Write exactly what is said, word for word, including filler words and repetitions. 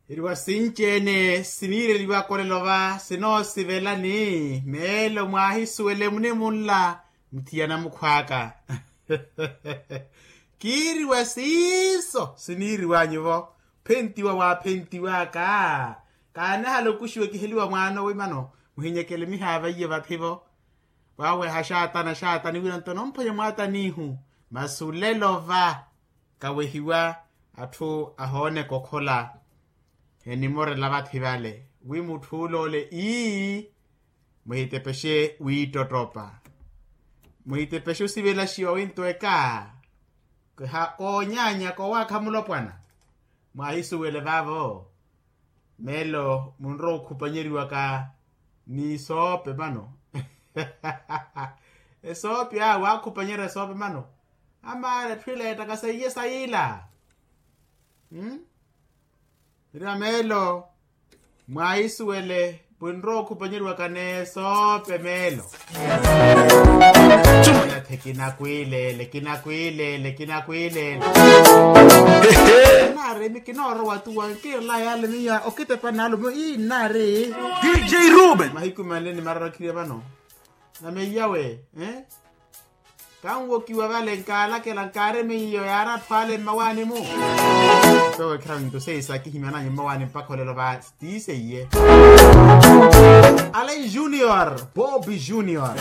Iriwa sinci-ene siniireliwaka olelo va sinoosivela ni meelo mwaahisuwele munimunla. Muthiya namukhw'aka. Kiiriwa siiso siniiriw'anyu-vo. Phentiwa waaphentiw'aka. Kaanahala okuxiwa ekiheliwa mwaana owe mano. Muhinyekele mihaava iye vathi-vo. Waaweha xaatana xaatani wira nto nomphwanya mwaatanihu. Masi olelo va kawehiwa atthu ahooneka okhola. Enimorela vathi vale wi mutthu ole ii. Muhitepexe wiittottopa. Muhitepexe osivelaxiwa wintweka. Kiha koonyaanyaka owaakha mulopwana. Mwaahisuwele vaavo. Meelo munrowa okhupanyeriwaka ni esoope mano. Esoope awe waakhupanyerya esoope mano. Amaala etthu ila yeettaka seiye sayiila. Ira meelo mwaahisuwele. Pwinrowa okhupanyeriwaka n'esoope meelo. Ela the kinakwilele kinakwilele kinakwilele. Naari emi kinoorowa tuwa nkiirela yaale miya okitepa naalumo ii naari. Dj ruben mahiku manle ni mararakhirya vano. Nameiyawe. Kanwokiwa vale nkaanakela nkaari miyo yaari atthu ale mmawaani-mu. Mpewe khira nto seiye saakihimyananyu mmawaani mpakha olelo va. Tiiseiye. Alain junior bobi junior.